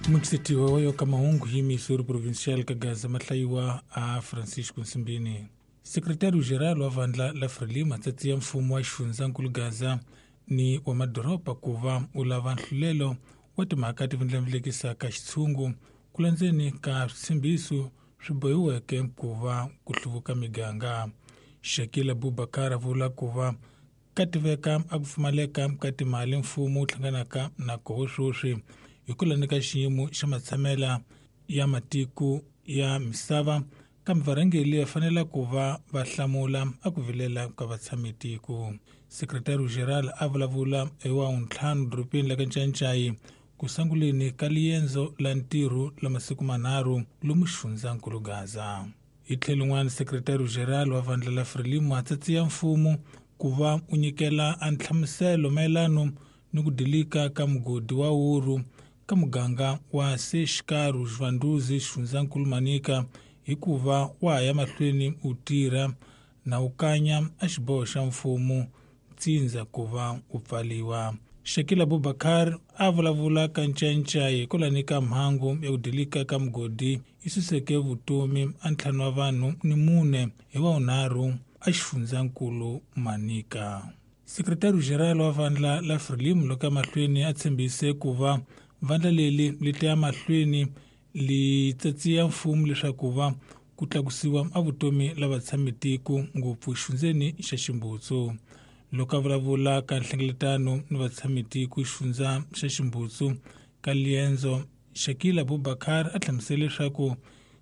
Mukisetiwa wa yo ka mahungu hi Missouri Provincial ka Gaza mahlayiwa a Francisco Nsimbini. Secretario-Geral wa vandla la Frelimo tsatsi ya mfumo wa xifundzankulu Gaza ni wa madoroba ku va u lava nhlulelo wa timhaka ti vundlamulekisaka xitshungu ku landzeni ka switshembiso swi bohiweke ku va ku hluvuka miganga. Shakil Abubakar a vula ku va ka tiveka a ku pfumaleka ka timali mfumo wu hlanganaka na koho sweswi hi ku landza ka xiyimo xa matshamela ya matiko ya misava kambe varhangeri va fanele ku va va hlamula a ku vilela ka vatshamitiko. Secretary-General a vulavula hi wa ntlhanu dorobeni la ka Ncaincayi ku sunguleni ka liendzo la ntirho la masiku manharhu lomu xifundzankulu Gaza. Hi tlhelo rin'wana, Secretary-General wa vandla la Frelimo a tsatsiya mfumo ku va u nyikela a nhlamuselo mayelano ni ku dilika ka mugodi wa wuru ka muganga wa Seshikaru Xivandhuzi xifundzankulu Manica hikuva wa ha ya mahlweni u tirha na u kanya a xiboho xa mfumo tsindza ku va u pfaliwa. Shakil Abubakar a vulavula ka Ncaincayi hikwalani ka mhangu ya ku dilika ka mugodi yi suseke vutomi a ntlhanu wa vanhu ni mune hi wa vunharhu a xifundzankulu Manica. Secretary-General wa vandla la Frelimo loko mahlweni a tshembise ku va vandla leri li ta ya mahlweni li tsatsiya mfumo leswaku va ku tlakusiwa a vutomi la vatshamitiko ngopfu xifundzeni xa Ximbutsu. Loko a vulavula ka nhlengeletano ni vatshamitiko xifundza xa Ximbutsu ka liendzo, Shakil Abubakar a hlamusele leswaku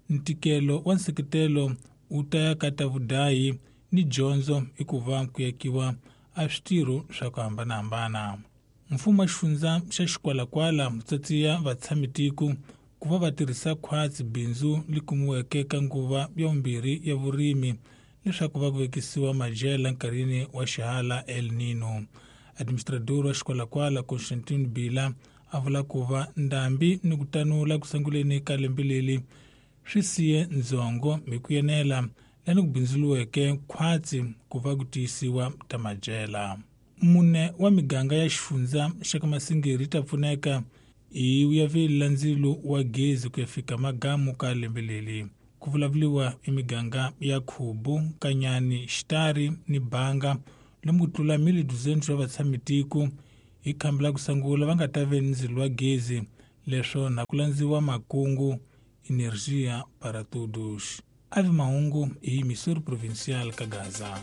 ntikelo wa nseketelo wu ta ya ka ta vudayi ni dyondzo hikuva ku yakiwa a switirho swa ku hambanahambana. Mfumo wa xifundza xa Xikwalakwala wu tsatsiya vatshamitiko ku va va tirhisa khwatsi bindzu li kumiweke ka nguva ya vumbirhi ya vurimi leswaku va ku vekisiwa madyela nkarhini wa xihala El Nino. Administrador wa Xikwalakwala Constantine Bila a vula ku va ndhambi ni ku tanula ku sunguleni ka lembe leri swi siye ndzhongo hi ku yenela lani ku bindzuriweke khwatsi ku va ku tiyisiwa ta madyela. Mune wa miganga ya xifundza xa ka Masingiri ta pfuneka hi vuyaveli la ndzilo wa gezi ku ya fika magamu ka lembe leri. Ku vulavuriwa i miganga ya Khubu, Kanyani, Xitari ni Banga lomu ku tlula 1,200 wa vatshamitiko hi khamba la ku sungula va nga ta ve ni ndzilo wa gezi leswo na ku landziwa makungu Energia para Todos. Ave mahungu hi Missouri Provincial ka Gaza.